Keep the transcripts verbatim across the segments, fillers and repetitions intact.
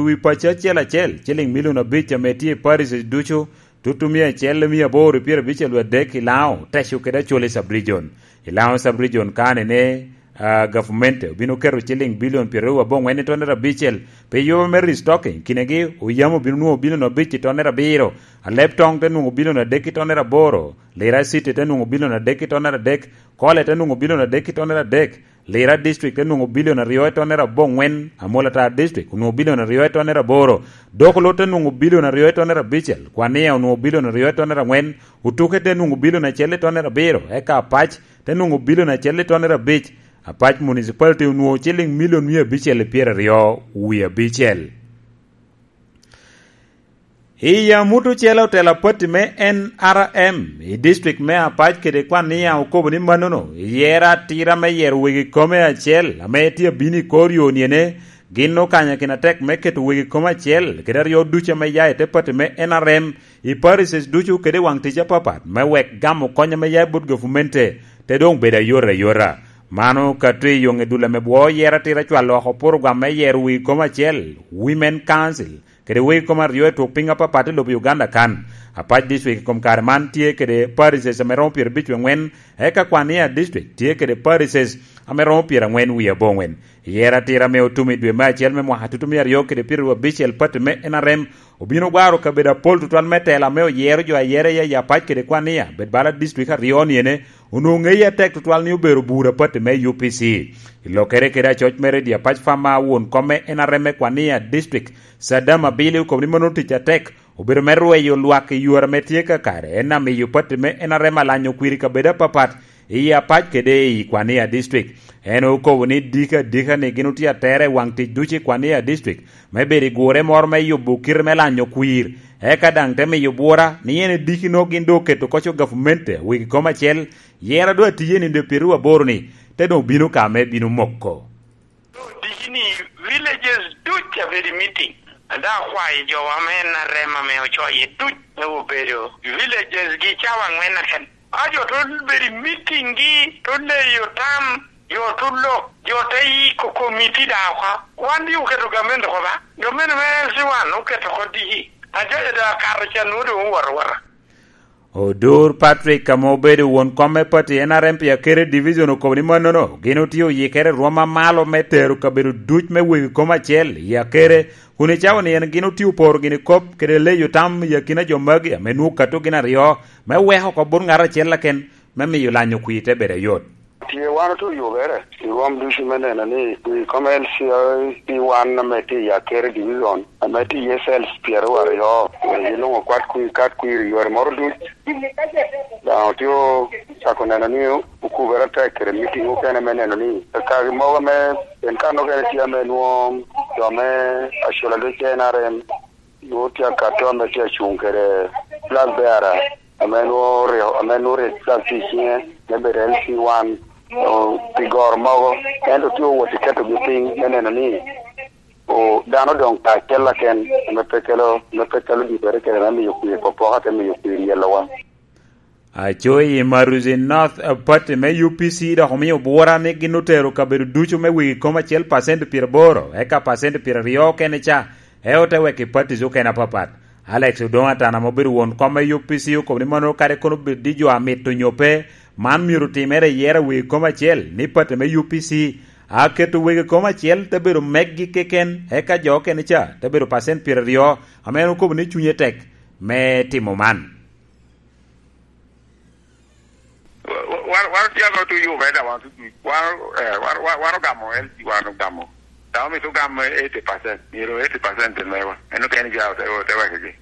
wi paco acel acel, ciliŋ milion abic ame tye i parishes ducu, tutumia acel mia aboro i pyerabicel wie adek i Laŋo, Teco kede Acholi sub-region. I Laŋo sub-region kane ni, ah, gavumenti obino keto ciliŋ bilion pyeraryo aboŋwen i tonnere abicel pi yubo me restocking, kinegi oyamo obino nwoŋo bilion abic i tonnere abiro, Aleb Toŋ te nwoŋo bilion adek i tonnere aboro, Lira City te nwoŋo bilion adek i tonnere adek, Kole te nwoŋo bilion adek i tonnere adek, Lira District te nwoŋo bilion aryo i tonnere aboŋwen, Amolatar District onwoŋo bilion aryo i tonnere aboro, Dokolo te nwoŋo bilion aryo i tonnere abicel, Kwania onwoŋo bilion aryo i tonnere aŋwen, Otuke te nwoŋo bilion acel i tonnere abiro, eka Apac te nwoŋo bilion acel i tonnere abic, Apac Municipality onwoŋo ciliŋ milion mia abicel i pyeraryo wie abicel. I amut ocele, otelo a pati me N R M i district me Apac kede Kwania okobo ni mannono, yero atira me yero wegi kome acel ame tye abino i kor yo niene, gin okanyakino atek me keto wegi kome acel kede aryo ducu ame ya i te pati me N R M i parishes ducu kede i waŋ tic apapat me wek gamo kony ame ya i bot gavumente te doŋ bedo ayot ayota. Mano ka tye i yoŋ i dul ame bwo yero atira cwalo oko purogwam me yero wegi kome acel, Women Council, kede wegi kome aryo i twok piny apapat i lobo Uganda kan. Apac District i kom kare man tye kede parishes ame romo pyerabic wie aŋwen, eka Kwania District tye kede parishes ame romo pyeraŋwen wie aboŋwen. I yero atira ame otum i dwe me acel me mwaka tutumia aryo kede pyeraryo abicel, pati me N R M obino gwaro kabedo apol tutwal me tela ame oyero jo ayera i Apac kede Kwania bed bala district aryo niene, onwoŋo ŋeye atek tutwal ni obedo bura pati me U P C. I lokkere kede acoc mere, Apac Farmer, won kom me N R M me Kwania District, Saddam Abili, okobo ni mano tic atek obedo me rweyo lwak i yore ame tye kakare, en amiyo pati me N R M alanyo kwir i kabedo apapat i Apac kede i Kwania District. En okobo ni diki adika ni gin otye atera i waŋ tic ducu i Kwania District me bedo i gure moro me yubo kite me lanyo kwir, eka daŋ te miyo bwura ni en ediki noko gin doŋ oketo koco gavumente wegi kom acel, yero doŋ atiye nino dwe pyeraryo aboro ni, te doŋ bino ka me bino moko. Diki ni villages duc abedo i meeting. Ada akwayo jo ame en arem ame ocoye duc me obedo villages gi cawa aŋwen aken. A jo to bedo i meeting gi, to leyo tam, jo to lok, jo te yiko komiti da oko. Wan di oketo gamente oko ba? Gamente me L C one oketo oko diki. Ajaja da akato can nwo doŋ owot awota. Odur Patrick, ame obedo won kom me pati N R M pi Akere Division, okobo ni mannono gin otye oyikere i rwom amalo me tero kabedo duc me wegi kom acel i Akere, kun i cawa ni en gin otye oporo gini kop kede leyo tam i akina jo magi ame nwoŋo kato gin aryo me weko oko bot ŋat acel aken me miyo lanyo kwir te bedo ayot. Tye wan otye oyubere i rwom ducu me neno ni wi kom L C I P one ame tye i Akere Division, ame tye iye cells pyeraryo aryo, giluŋo kwat kwir, kat kwir i yore moro duc. Daŋ otye ocako neno ni okubere atek kede meeting okene me neno ni kagi mogo ame en kan okene tye ame nwoŋo jo me acula duc N R M nwoŋo tye akato ame tye acuŋ kede flag bearer ame nwoŋo rik, ame nwoŋo rik flag tye i ciŋe me bedo L C one, o, pi goro mogo, ento tye owot i ketogi piny me neno ni, o, dano odoŋ kacel aken ame pe kelo, ame pe kelo dikere kede me miyo kwir popoka te miyo kwir yelowa. Aco i Maruzi North, eh, pati me U P C dok omio bwura ni gin otero kabedo ducu me wegi kom acel pacent pyeraboro, eka pacent pyeraryo okene ca, e ote wek i patis okene apapat. Alex Odongo Atana, ame obedo won kom me U P C, okobo ni mano kadi kono bed ni jo amito nyo pe, man myero otimere i yero a wegi kom acel, ni pati me U P C a keto wegi kom acel te bedo meggi keken, eka jo okene ca te bedo pacent pyeraryo, ame en okobo ni cunye tek me timo man. Wa-, wa-, wan otye ame otye Uganda, wan otye, wan, eh, wan, wan, wan ogamo L C, wan ogamo. Dok omito gam eighty percent, myero eighty percent te mewa. En okene ja ote, ote wekigi.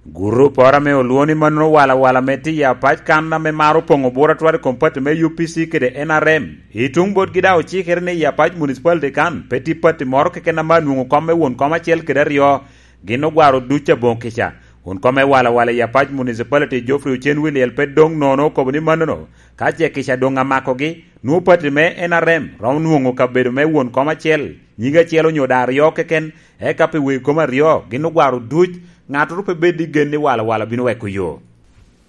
Gurup oro ame olwoŋo ni mannono Wala Wala ame tye i Apac kan ame maro poŋo bwura twal i kom pati me U P C kede N R M, i tuŋ botgi daŋ ocikere ni i Apac Municipality kan pe tye pati moro keken ame anwoŋo kom me won kom acel kede aryo. Gin ogwaro duc aboŋo kica. Won kom me Wala Wala i Apac Municipality, Geoffrey Ocen Wiliel, pe doŋ nono okobo ni mannono, ka ce kica doŋ amakogi, nwoŋo pati me N R M romo nwoŋo kabedo me won kom acel, nyige acel onyo daŋ aryo keken, eka pi wegi kom aryo gin ogwaro duc, ŋattoro pe bed i gen ni Wala Wala bino weko yo.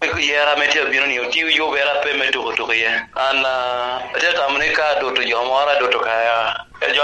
Yera ame tye abino ni otio yubere ape me tuko tuko iye. An, ah, atye atamo ni ka adoto jo moro, adoto ka Ejwa,